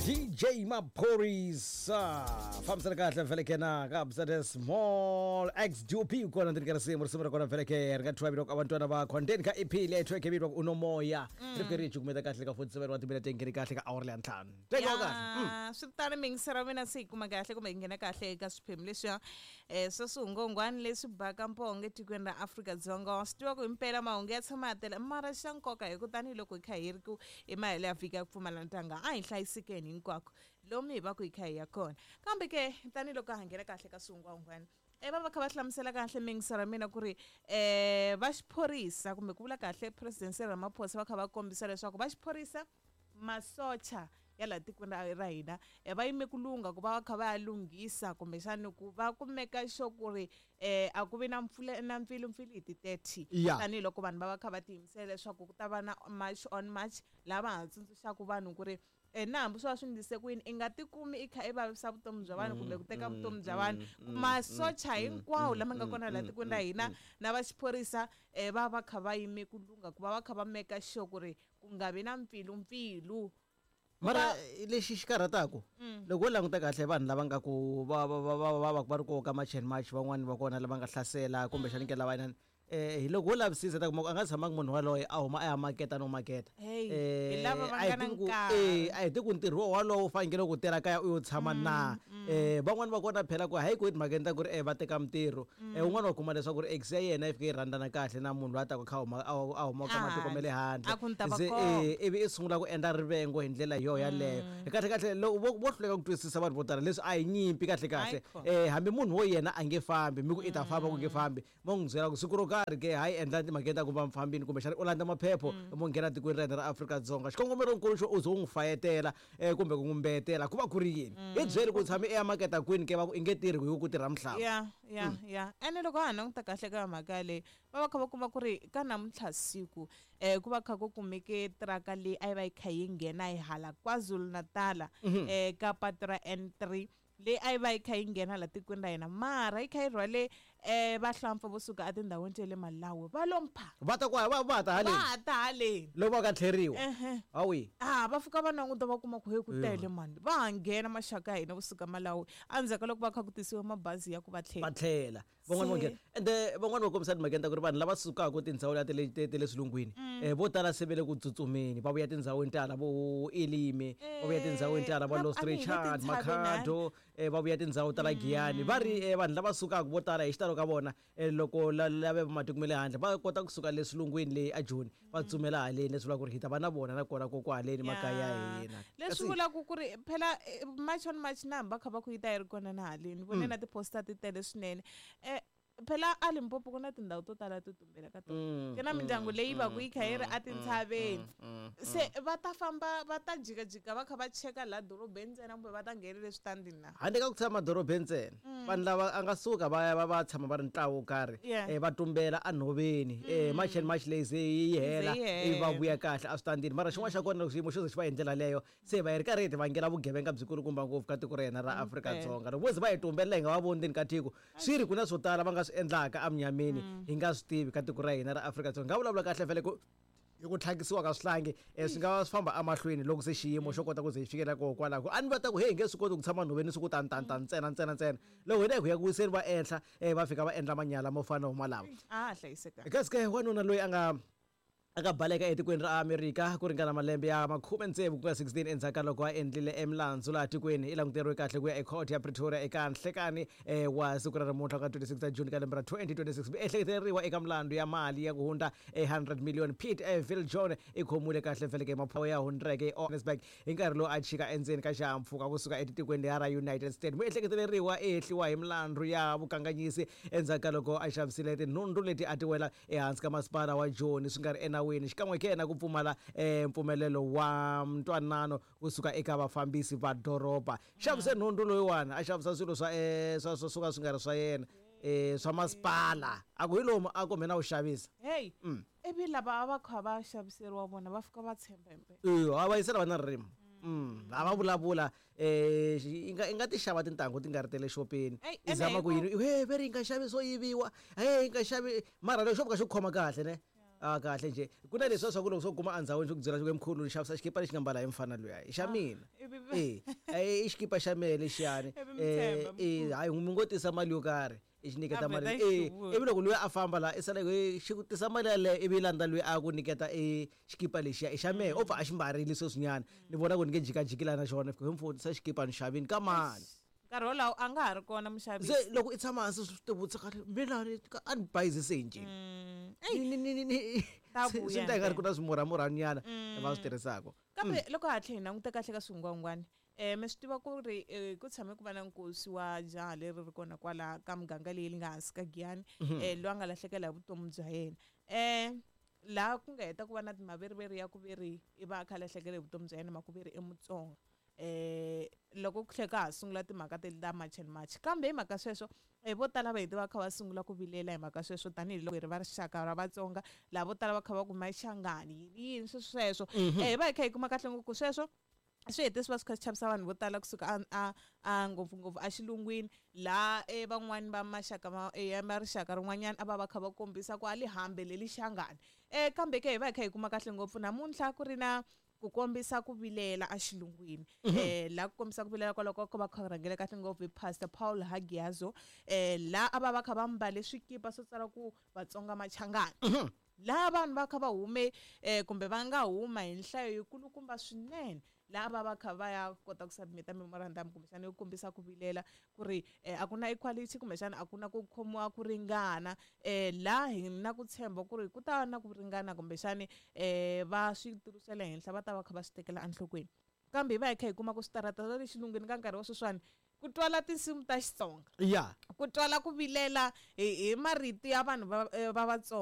DJ Maphorisa fambisana kahle vhele na kabza the small XDP kona ndzi ka risimu risimu ra kona vhele ke ri nga thyiwa vito abantwana bakho ndzeni ka EP leyi thyiweke vito unomoya ri fike ri yi cukumeta kahle ka 47 wa timina tengeni kahle ka awara leya ntlhanu teka kahle. Ya, swi tano mingisera mina se yi kuma kahle kumbe yi nghena kahle eka swiphemu leswiya swa swihungwangwani leswi baka mpongo etikweni ra Afrika-Dzonga. Wa swi tiva ku himpela mahungu ya tshama ya tele mara xa nkoka hi ku tanihiloko hi kha hi ri ku i mahelo ya vhiki ya ku pfumala ntanga a hi hlayisekeni hinkwako lomu hi va ku hi kha hi ya kona. Kambe ke tanihiloko ha nghena kahle ka swihungwangwani va va kha va hlamusela kahle mingisera mina ku ri va xiphorisa kumbe ku vula kahle President Cyril Ramaphosa va kha va kombisa leswaku va xiphorisa masocha ya laha tikweni ra hina va yime ku lungha ku va va kha va ya lunghisa kumbexani ku va kumeka xo ku ri a ku vi na mpfula na mpfilumpfilu hi ti 30 tanihiloko vanhu va va kha va tiyimisela leswaku ku ta va na march on march laha va ha tsundzuxaka vanhu ku ri na hambi swo va swi ndlise ku yini i nga tikumi i kha i vavisa vutomi bya vanhu kumbe ku teka vutomi bya vanhu. Masocha hinkwawo lama nga kona laha tikweni ra hina na va xiphorisa va va kha va yime ku lungha ku va va kha va meka sure ku ri ku nga vi na mpfilumpfilu. Mara lexi xi karhataka loko wo languta kahle vanhu lava nga ku va va va va va va ri ku ka March and March van'wani va kona lava nga hlasela kumbexani ke lava inani hi loko wo lavisisa ta kuma ku a nga tshamangi munhu waloye a huma a ya maketa no maketa. Hey, hi lava va nga na nkarhi. A hi tivi ku ntirho wolowo wu fanekele ku tirha kaya u yo tshama na. Van'wani va kona phela ku hayi ku etimhakeni ta ku ri va teka mintirho. Un'wana wa kuma leswaku ri ex ya yena yi fike yi rhandzana kahle na munhu loyi a taka kha huma a huma ka matiko ma le handle. A ku ni ta va Se komba. Ivi i sungula ku endla rivengo hi ndlela yo yaleyo. Kahle kahle loko vo hluleka ku twisisa vanhu vo tala leswi a hi nyimpi kahle kahle. Hayikhona. Hambi munhu wo yena a nge fambi mi ku i ta famba ku nge fambi mo n'wi byela ku siku ro karhi ke hayi endla timhakeni ta ku va mufambini kumbexana u landza maphepho mo nghena tikweni ra hina ra Afrika-Dzonga. Xikongomelonkulu xo u ze u n'wi fayetela kumbe ku n'wi mbeyetela ku va ku ri yini? Hi byeli ku u tshame i ya maketa kwini ke va ku i nge tirhi hi ku tirha mihlava. Ya ya ya ene loko ha ha languta kahle ka mhaka yaleyo va va kha va kuma ku ri ka namuntlha siku ku va kha ku kumeke tiraka leyi a yi va yi kha yi nghena hi hala KwaZulu-Natal ka patu ra N3 leyi a yi va yi kha yi nghena la tikweni ra hina mara yi kha yi rhwale vahlampfa vo suka etindhawini ta le Malawi va lo mpha. Va ta kwa va va ta haleni. Va ta haleni. Loko va ka tlheriwa. Ehe. Hawi. Ah va fika va languta va kuma ku he ku tele mani. Va ha nghena maxaka ya hina vo suka Malawi endzhaku ka loko va kha ku tisiwa mabazi ya ku va tlhela. Va tlhela. Van'wani va nghena. Ende van'wani va kombisa timhakeni ta ku ri vanhu lava sukaka tindhawu leti ta le ta le swilungwini vo tala se va le ku tsutsumeni va vuya tindhawini ta hala vo Elime, va vuya tindhawini ta hala va Lost Richard, Makhado, va vuya tindhawu ta la Giyani. Va ri vanhu lava sukaka vo tala hi xitalo ka vona loko lava va matiko ma le handle va kota kusuka le swilungwini le aJoni va tsutsumela haleni leswi vulaka ku ri hi ta va na vona na kona koko haleni makaya ya hina. Leswi vulaka ku ri phela March on March na hambi va kha va ku yi ta yi ri kona na haleni ni vone na ti-poster ti tele swinene. Phela a Limpopo ku na tindhawu to tala to tumbela ka tona. Ku na mindyangu leyi va ku yi kha yi ri etintshaveni. Se va ta famba va ta jikajika va kha va cheka laha dorobeni ntsena kumbe va ta nghenela eswitandini na? Handle ka ku tshama dorobeni ntsena, vanhu lava a nga suka va ya va va tshama va ri ntlawa wo karhi va tumbela enhoveni. March and March leyi ze yi hela ivi va vuya kahle eswitandini. Mara xin'wana xa kona loko xiyimo xo ze xi va hi ndlela leyo se va hi ri karhi hi ti vangela vugevenga byikulukumba ngopfu ka tiko ra hina ra Afrika-Dzonga. Loko vo ze va hi tumbelela hi nga va voni ndzeni ka tiko, swi ri ku na swo tala va nga swi endlaka emunyameni hi nga swi tivi ka tiko ra hina ra Afrika-Dzonga. Hi nga vulavula kahle vhele ku hi ku tlhakisiwa ka swihlangi swi nga va swi famba emahlweni loko se xiyimo xo kota ku ze hi fikelela koho kwalaho. A ni va ta ku heyi hi nge swi koti ku tshama nhoveni siku tani tani tani ntsena ntsena ntsena. Loko hina hi ku ya ku wiseni va enhla va fika va endla manyala mo fana na malama. A ha hlayisekanga. Kasi ke wanuna loyi a nga a nga baleka etikweni ra Amerika ku ringana malembe ya makhume tsevu ku nga 16 endzhaku ka loko a endlile emilandzu laha tikweni i languteriwe kahle ku ya ekhoto ya Pretoria eka nhlekani wa siku ra namuntlha ku nga 26 ta June ka lembe ra 2026. Miehleketeleriwa eka milandzu ya mali ya ku hundza 100 million Pete Viljoen i khomiwile kahle vheleke hi maphorisa ya hundzeke eJohannesburg hi nkarhi lowu a chika endzeni ka xihahampfhuka kusuka etitikweni leriya ra United States. Muehleketeleriwa i hehliwa hi milandzu ya vukanganyisi endzhaku ka loko a xavisile tinhundzu leti a ti wela ehansi ka masipala wa Joni swi nga ri enawini xikan'we ke na ku pfumala mpfumelelo wa ntwanano kusuka eka vafambisi va doroba. Xavise nhundzu loyiwani a xavisa swilo swa swa swo ka swi nga ri swa yena swa masipala a ku hi lomu a ku mina wu xavisa. Hey, ivi lava a va kha va xaviseriwa vona va fika va tshemba himpela. Eya, va yisela va na ririmi. A va vulavula i nga i nga ti xava tintangu ti nga ri ta le xopeni Eyi, i zama ene ku yini he ve ri yi nga xavi swo yiviwa he yi nga xavi mara lexo fika xi ku khoma kahle ne. A kahle njhe ku na leswiya swa ku loko swo kuma endzhawini swi ku byela swi ku mkhulu ni xavisa xikipa lexi nga mbala hi mfana luya i xa mina Ivi e i xikipa xa mehe lexiyani Ivi mi tshemba, e hayi mi ngo tisa mali yo karhi i xi nyiketa A mali vheta e xi ivi loko luya a famba laha i sala i xi ku tisa mali yaleyo ivi yi landza luya a ku nyiketa e xikipa lexiya i xa mehe o pfa a xi mbarile sweswinyana ni vona ku ni nge jikajiki laha na xona fika mfo tisa xikipa ni xavini ka mani. Nkarhi wolowo a nga ha ri kona muxavisi. Se loko i tshama hansi swi tivutisa kahle mina ni a ni bayizise hi ncini. Ei, Ni ni ni ni Ta swi vuya endla ingari ku ntsena. na swimurhamurhanyana va swi tirhisaka. Kambe loko ha tlhe hi languta kahle ka swingwangwani, mi swi tiva ku ri ku tshame ku va na nkosi wa jaha leri ri kona kwala ka muganga leyi nga hansi ka Giyani, loyi a nga lahlekela hi vutomi bya yena. Laha ku nga heta ku va na maveriveri ya ku ve ri i va a kha a lahlekela hi vutomi bya yena mhaka ku ve ri i Mutsonga. Loko ku tlhela ka ha sungula timhaka teti ta March and March, kambe hi mhaka sweswo vo tala va hete va kha va sungula ku vilela hi mhaka sweswo tanihiloko hi ri va rixaka ra Vatsonga, laha vo tala va kha va ku Machangani yini yini sweswo sweswo. Hi va hi kha hi kuma kahle ngopfu sweswo swi hete swi va swi kha swi chavisa vanhu vo tala kusuka a ngopfungopfu exilungwini laha van'wani va maxaka ma ya ma rixaka rin'wanyana a va va kha va kombisa ku a li hambe leli Shangani. Kambe ke hi va hi kha hi kuma kahle ngopfu namuntlha ku ri na ku kombisa ku vilela exilungwini. Laha ku kombisa ku vilela kwaloko ko va kha rhangela kahle ngopfu hi Pastor Paul Hagiazo, laha a va va kha va mbale swikipa swo tsala ku Vatsonga Machangani. Laha vanhu va kha va hume kumbe va nga huma hi nhlayo yikulukumba swinene, laha va va kha va ya kota ku submit-a memorandum kumbexana yo kombisa ku vilela ku ri a ku na equality kumbexana a ku na ku khomiwa ku ringana. Laha hi na ku tshemba ku ri ku ta va na ku ringana kumbexani va switulu swa le henhla va ta va kha va swi tekela enhlokweni. Kambe hi va hi kha hi kuma ku switarata swa le xilungwini ka nkarhi wa sweswiwani ku twala tinsimu ta Xitsonga. Ku twala ku vilela hi marito ya vanhu va Vatsonga.